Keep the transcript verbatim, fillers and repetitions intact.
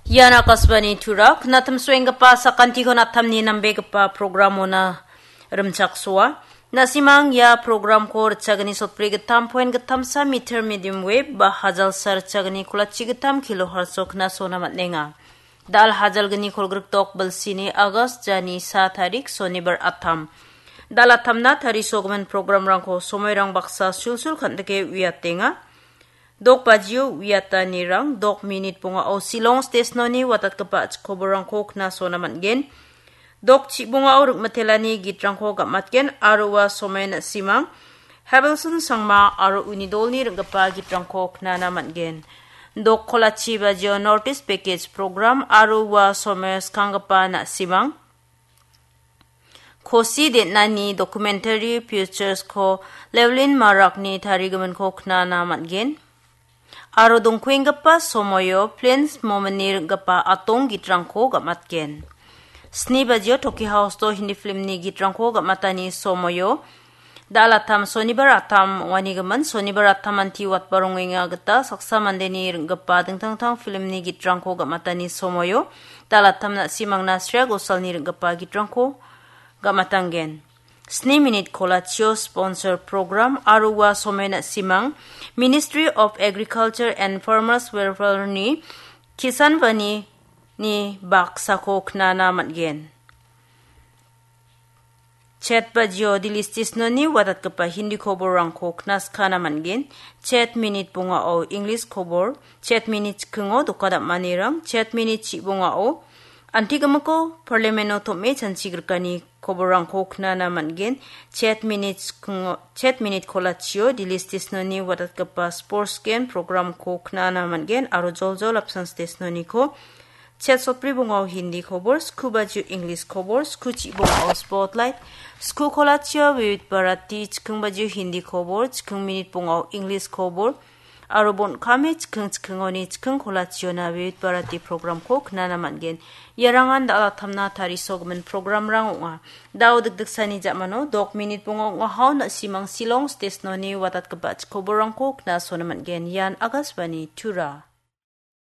Ian Akashvani Tura, knatimsoenggipa sakantikon atamni nambegipa programona rimchaksoa. Na·simang ia programko ritchagni sotbri gittam poen gittamsa meter medium wave ba hajalsa ritchagni kolachi gittam kilohertz-o knasona man·enga. Dal hajalgni kolgrikdok bilsini August jani sa tarik sonibar atam. Dal atamna tarisogimin programrangko somoirang baksa sulsul kan·dike uiatenga. Dok bajio uiatanirang dok minit bongao Shillong stesnoni watatgipa chikoborangko knasona man·gen. Dok chibongao ring·mitelani gitrangko gam·atgen aro ua somen simang Habelson Sangma aro uni dolni ring·gipa gitrangko knana man·gen. Dok kolachi bajio North East Package Program aro ua somen skanggipa na·simang Kosi den·ani documentary features-ko Levlin Marakni tarigiminko knana man·gen. Aro dongkuenggipa somoio Plains Momentni ring·gipa atong gitrangko gam·atgen. Sni bajio Toki House-o Hindi filmni gitrangko gam·atani somoio Dal atam sonibar atam ong·anigimin, sonibar atam anti watbarongenga gita saksa mandeni ring·gipa dingtang dingtang filmni gitrangko gam·atani somoio Dal atam na·simangna Shreya Ghosalni ring·gipa gitrangko gam·atanggen. Sni minit kolachio sponsor program aro ua somen na·simang Ministry of Agriculture and Farmers Welfare-ni Kisan Vani-ni baksako knana man·gen. Chet bajio Delhi stesnoni watatgipa Hindi koborrangko knaskana man·gen. Chet minit bongao English kobor, chet minit chikingo doka dam·anirang, chet minit chibongao antigimiko parliameno tom·e chanchigrikani koborrangko knana man·gen. Chet minit chikingo, chet minit kolachio Delhi stesnoni watatgipa sports game programko knana man·gen aro joljol apsan stesnoniko Chet sotbri bongao Hindi kobor, sku bajio English kobor, sku chibongao Spotlight, sku kolachio Vividh Bharati, chiking bajio Hindi kobor, chiking minit bongao English kobor, aro bon kame chiking chikingoni chiking kolachiona Vividh Bharati programko knana man·gen. Iarangan dal atamna tarisogimin programrang ong·a. Dao dikdiksani ja·mano dok minit bonga ong·ahao na·simang Shillong stesnoni watatgipa chikoborrangko knasona man·gen. Ian Akashvani Tura.